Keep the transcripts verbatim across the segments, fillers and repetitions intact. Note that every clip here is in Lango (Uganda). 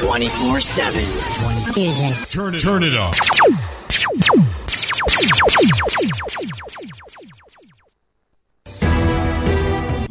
twenty-four seven. Turn it, turn it up.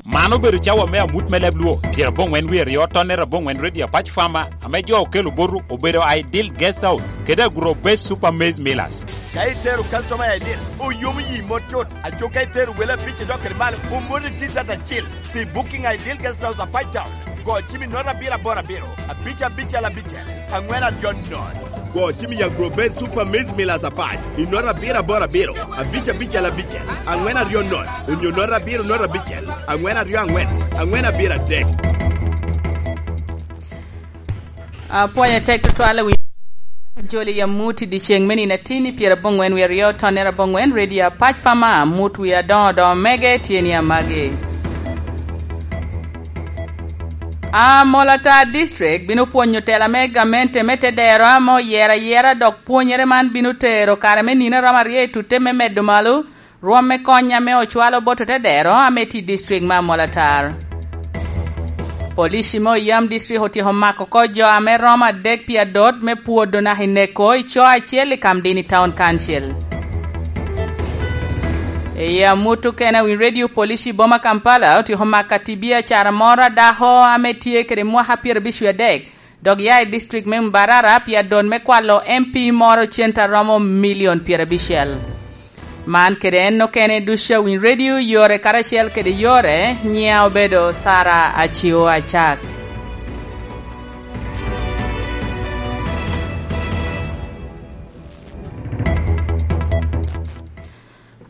Man obedo cawa me amut me leb Luo, pyeraboŋwen wie aryo, tonnere aboŋwen, Radio Apac Farmer, ame jo okelo botu obedo Ideal Guest House kede Agro Base Super Maize Millers. Ka itero customer i Ideal, oyomo yi mot tut. Aco ka itero wele abic idok kede malo, omoti T-shirt acil. Pi booking a Ideal Guest House Apac Town, go cim i nota abiro aboro abiro, abic abicel abicel, aŋwen aryo nono. Go cim i Agro Base Super Maize Millers Apac i nota abiro aboro abiro, abic abicel abicel, aŋwen aryo nono, onyo nota abiro nota abicel, aŋwen aryo aŋwen, aŋwen abiro adek. Apwoyo tek tutwal i wi joli i amut i dyeceŋ me nino atin i pyeraboŋwen wie aryo, tonnere aboŋwen, Radio Apac Farmer, amut wie adoŋo doŋo mege tye ni amagi. Amolatar District bino pwonyo tela me gamente me te dero ame oyero ayera, dok pwonyere man bino tero kare me nino a romo aryo i tutte me medo malo rwom me kony ame ocwalo bot otedero ame tye i district me Amolatar. Polici me Oyam District otyeko mako oko jo ame romo adek pi adot me pwodo naka i neko i co acel i Kamdini Town Council. I amut okene, Winy Radio, polici i boma Kampala otyeko mako ati biacara moro a dako ame tye kede mwaka pyerabic wie adek, dok ya i district me Mbarara pi adot me kwalo M P moro cente a romo milion pyerabicel. Man kede en okene ducu a Winy Radio yore karacel kede yore, nyiŋa obedo Sara Acio Acak.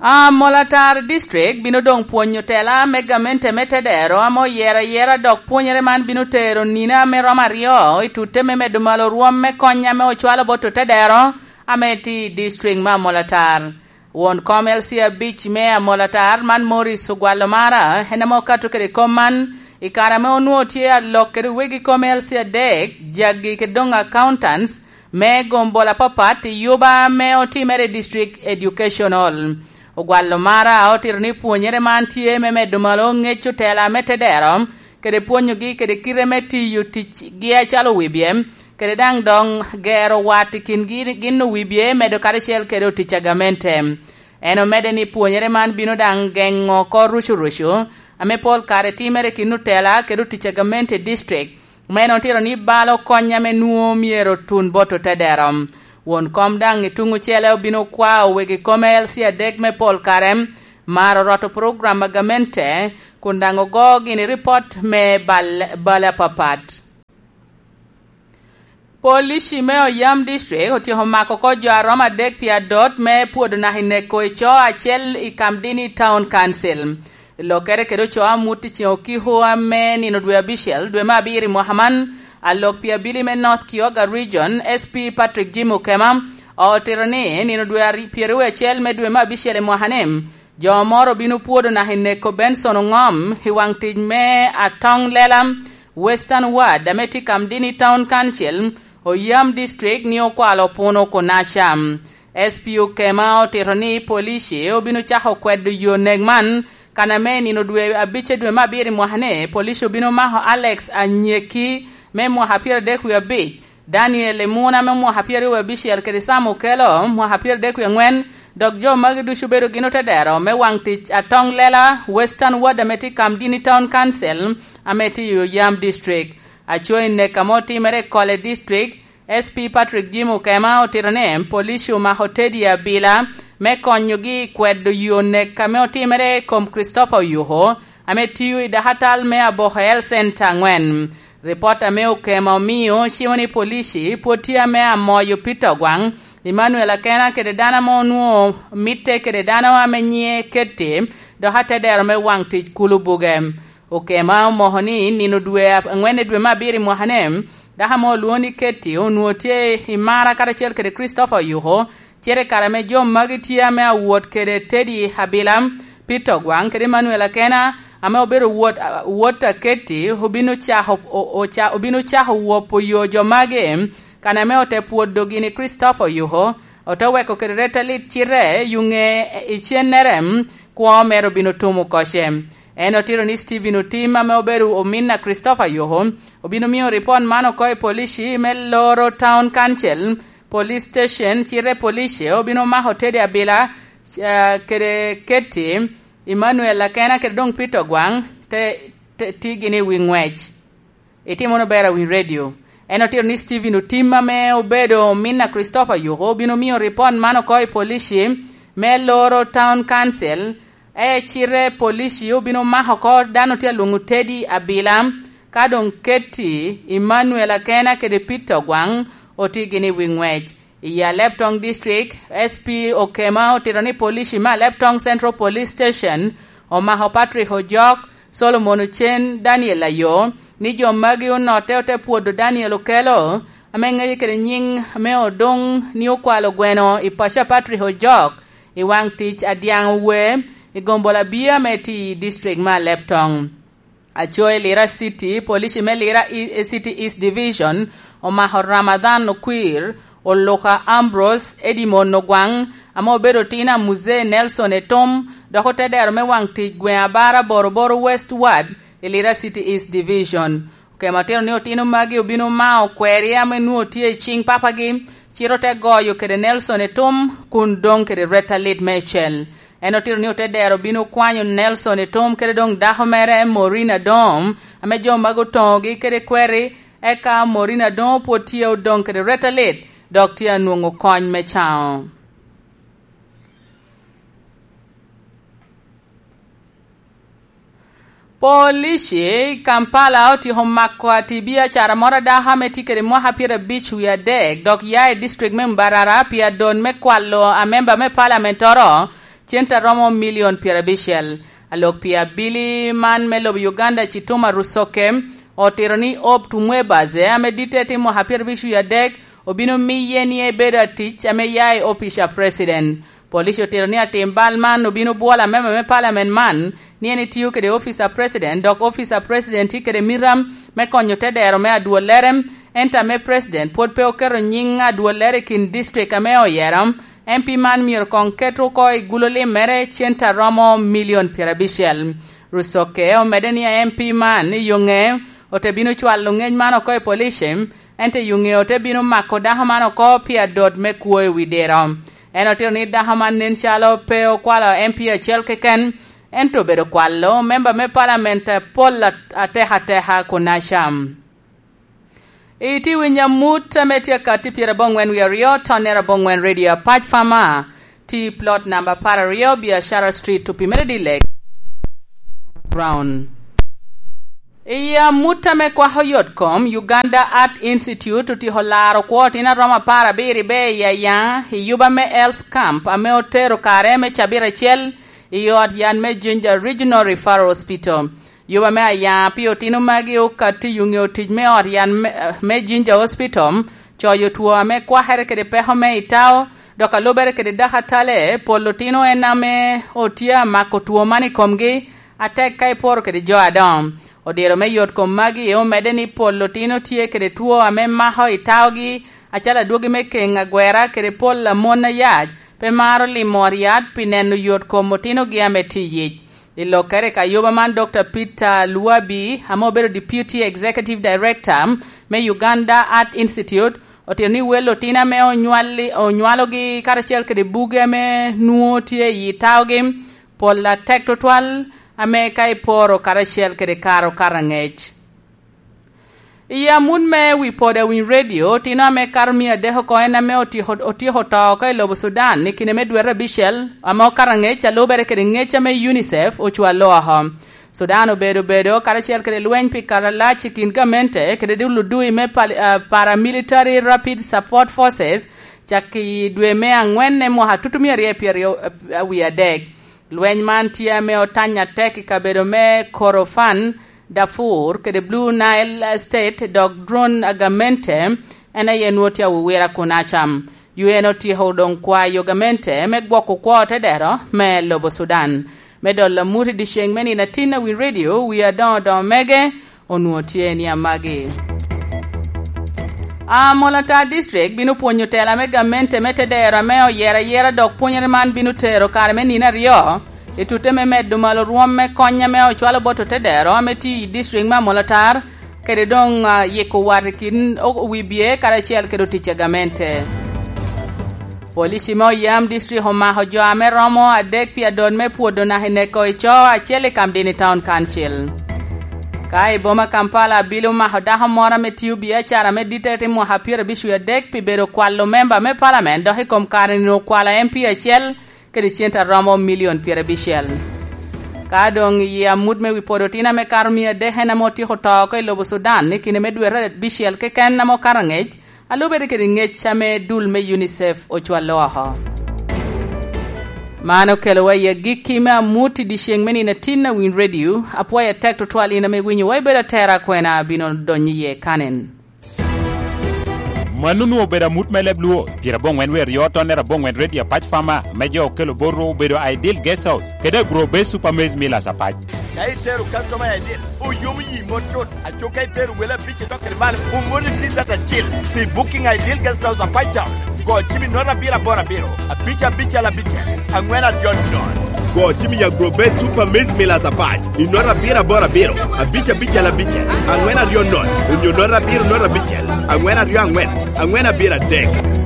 Amolatar District bino doŋ pwonyo tela me gamente me tedero ame oyero ayera, dok pwonyere man bino tero nino ame romo aryo i tutte me medo malo rwom me kony ame ocwalo bot otedero ame tye i district me Amolatar. Won kom L C abic me Amolatar man, Morris Ogwallo Mara, en ame okato kede kom man i kare ame onwoŋo tye alok kede wegi kom L C adek, jagi kede doŋ accountants, me gombola apapat i yuba ame otimere i District Educational. Ogwallo Mara otito ni pwonyere man tye me medo malo ŋec otela me tedero, kede pwonyogi kede kite me tiyo ticgi acalo wibye, kede daŋ doŋ gero wat i kingi gin owibye medo karacel kede otic a gamente. En omedde ni pwonyere man bino daŋ geŋo oko rucurucu, ame pol kare timere i kin otela kede otic a gamente i district, ma en otito ni balo kony ame nwoŋo myero otun bot otedero. Won kom daŋ i tuŋ ocele obino kwao wegi kome L C adek me pol kare maro roto program a gamente, kun daŋ ogo gini ripot me bal-, bale apapat. Polici me Oyam District otyeko mako oko jo a romo adek pi adot me pwodo naka i neko i co acel i Kamdini Town Council. Lokere kede ocoo amut i ceŋ okiko ame nino dwe abicel dwe me abiro i mwaka man, alok pi abili me North Kyoga Region, S P Patrick Jim Okema, otito ni nino dwe ari-, pyeraryo acel me dwe me abicel i mwaka ni, jo moro obino pwodo naka i neko Benson Oŋom i waŋ tic me Atong Lela Western Ward ame tye i Kamdini Town Council, Oyam District, ni okwalo puno Kunaca. S P Okema otito ni polici obino cako kwedo yo nek man, kan ame i nino dwe abic dwe me abiro i mwaka ni, polici obino mako Alex Anyeki me mwaka pyeradek wie abic, Daniel Emuna me mwaka pyeraryo wie abicel, kede Sam Okello mwaka pyeradek wie aŋwen, dok jo magi ducu obedo gin otedero me waŋ tic Atong Lela Western Ward ame tye i Kamdini Town Council ame tye i Oyam District. Aco i nek ame otimere i Kole District, S P Patrick Jim Okema otito ni polici omako Teddy Abila me konyogi i kwedo yo nek ame otimere i kom Christopher Oyuko, ame tiyo i dakatal me Aboko Health Center aŋwen. Ripot ame Okema omio cimo ni polici pwod tye ame amoyo Peter Ogwaŋ, Emmanuel Akena kede dano ame onwoŋo mitte kede dano ame nyiŋe Ketty, dok atedero me waŋ tic kulu buge. Okema omoko ni nino dwe aŋwen i dwe me abiro i mwaka ni, dako ame olwoŋo ni Ketty onwoŋo tye i mara karacel kede Christopher Oyuko, cite i kare ame jo magi tye ame awot kede Teddy Abila, Peter Ogwaŋ kede Emmanuel Akena, ame obedo wot, wot a Ketty, obino cako, o-, oca-, obino cako wopo yo jo magi, kan ame ote pwodo gini Christopher Oyuko, ote weko kede ret alit cite yuŋe i cennere, kwo mere obino tumo koce. En otito ni Stephen Otim, ame obedo omin a Christopher Yoko, obino miyo ripot man oko i polici me Loro Town Council Police Station, cite polici obino mako Teddy Abila, eh, kede Ketty Emmanuel Akena kede doŋ Peter Ogwaŋ, te, te tigi ni wi ŋwec. Itimo wunu ber awiny redio. En otito ni Stephen Otim, ame obedo omin a Christopher Yoko, obino miyo ripot man oko i polici me Loro Town Council, e cite polici obino mako oko dano tye alwoŋo Teddy Abila, ka doŋ Ketty Emmanuel Akena kede Peter Ogwaŋ otigi ni wi ŋwec. I Aleptong District, S P Okema otito ni polici me Aleptong Central Police Station omako Patrick Ojok, Solomon Ocen, Daniel Ayo, ni jo magi onotte ote pwodo Daniel Okelo, ame ŋeye kede nyiŋ me Odoŋ, ni okwalo gweno i paco a Patrick Ojok i waŋ tic adyaŋ owe i gombolola Abia ame tye i district me Aleptong. Aco i Lira City, polici me Lira E-, City East Division omako Ramadhan Okwir, Oluka Ambrose, Edimon Ogwaŋ, ame obedo otino a Muzee Nelson Etom, dok ote dero me waŋ tic gweŋ Abara Boroboro West Ward i Lira City East Division. Okemo otito ni otino magi obino mao kweri ame nwoŋo tye i ciŋ papagi, cite ote goyo kede Nelson Etom, kun doŋ kede retta lit meicel. En otito ni ote dero obino kwanyo Nelson Etom kede doŋ dako mere Maureen Adom, ame jo magi otoŋogi kede kweri, eka Maureen Adom pwod tye odoŋ kede retta lit, dok tye anwoŋo kony me caŋo. Polici i Kampala otyeko mako atibiacara moro a dako ame tye kede mwaka pyerabic wie adek, dok ya i district me Mbarara pi adot me kwalo amemba me palamentoro cente a romo milion pyerabicel. Alok pi abili man me lobo Uganda, Kituma Rusoke, otito ni Hope Tumwebaze, ame ditte tye mwaka pyerabic wie adek, obino miye ni ebedo atic ame ya i opic a president. Police otito ni atim bal man obino bwolo amemba me palamen man ni en etio kede opic a president, dok opic a president tye kede mita me konyo tedero me adwollere, ento ame president pwod pe oketo nyiŋ adwollere i kin district ame oyero. M P man myero koŋ ket oko i gulo limmere cente a romo milion pyerabicel. Rusoke omedde ni M P man i yo ŋe ote bino cwalo ŋec man oko i police, ento i yo ŋe ote bino mako dako man oko pi adot me kwo i wi diro. En otito ni dako man nen calo pe okwalo M P acel keken, ento obedo kwalo memba me palamen apol at-, atekateka kunaca. Iti winyo amut ame tye akatti pyeraboŋwen wie aryo, tonnere aboŋwen Radio Apac Fama, ti plot namba apar aryo, Biashara Street, Tupi Melody Lake, Brown. I amut ame kwako yot kom, Uganda Art Institute otyeko laro kwo otino a romo apar abiro i Beya i Aya, i yuba me Health Camp, ame otero kare me cabit acel i ot yat me Jinja Regional Referral Hospital. Yuba me Aya pi otino magi okatti i ŋeo tic me ot yat me, me Jinja Hospital, coyo two ame kwakere kede peko me itao, dok alubere kede dakatale, pol otino en ame otye amako two man i komgi, atek ka iporo kede jo adoŋo. Odiro me yot kom magi omedde ni pol otino tye kede two ame mako i taogi, acalo adwogi me keŋ agwera kede pol a mon ayac, pe maro limo ot yat pi neno yot kom otinogi ame tye i yic. I lokkere i kayuba man, Doctor Peter Luabi, ame obedo Deputy Executive Director me Uganda Art Institute, otito ni wel otino ame onywali-, onywalogi karacel kede buge ame nwoŋo tye i taogi, pol atek tutwal, ame ka iporo karacel kede karo karaŋec. I amut me wi poda winy redio, otino ame kato mia adek oko en ame otyeko, otyeko to oko i lobo Sudan i kine me dwete abicel, ame okato aŋec a lubere kede ŋec ame UNICEF ocwalo oko. Sudan obedo bedo karacel kede lweny pi kare alac i kin gamente kede dul odui me pali-, ah, Paramilitary Rapid Support Forces cak i dwe me aŋwen i mwaka tutumia aryo pyeraryo, ah, wie adek. Lweny man tye ame otany atek i kabedo me Kordofan, Darfur, kede Blue Nile State, dok dwon a gamente en aye nwoŋo tye awowira kunaca. U N otyeko doŋ kwayo gamente me gwoko kwo tedero me lobo Sudan. Me dolo amut i dyeceŋ me nino atin, awiny redio, wi adoŋo doŋo mege, onwoŋo tye ni amagi. Amolatar District bino pwonyo tela me gamente me tedero ame oyero ayera, dok pwonyere man bino tero kare me nino aryo I tutte me medo malo rwom me kony ame ocwalo bot otedero ame tye i district me Amolatar, kede doŋ, ah, yiko wat i kin o-, wi bye karacel kede otic a gamente. Police me Oyam District omako jo ame romo adek pi adot me pwodo naka i neko i co acel i Kamdini Town Council. Ka i boma Kampala, abili omako dako moro ame tio biacara me ditete i mwaka pyerabic wie adek pi bedo kwalo memba me palamen, dok i kom kare-ni okwalo M P acel kede cente a romo milion pyerabicel. Ka doŋ i amut me wi podo tin ame kato mia adek en ame otyeko to oko i lobo Sudan i kine me dwete abicel keken ame okato angec, a lubere kede ngec ame dul me UNICEF ocwallo oko. Man okelowa i agikki me amut i dyeceŋ me nino atin a Winy Radio. Apwoyo atek tutwal in ame iwinyowa, ibedo atera, akwena abino donyo iye kanen. Mano onwoŋo obedo amut me leb Luo, pyeraboŋwen wie aryo tonnere aboŋwen redio apac Fama, ame jo okelo botwu obedo Ideal Guest House, kede Agro Base Super Maize Millers apac. Ka itero customer Ideal, oyomo yi mot cut. Aco ka itero wele abic idok kede malo, omoni T-shirt acil pi booking Ideal Guest House apac Town. Go cim i note abiro aboro abiro, abic abicel abicel, aŋwen aryo nono. Go cim i Agro Base Super Maize Millers apac i note abiro aboro abiro, abic abicel abicel, aŋwen aryo nono, onyo note abiro note abicel, aŋwen aryo aŋwen, aŋwen abiro adek.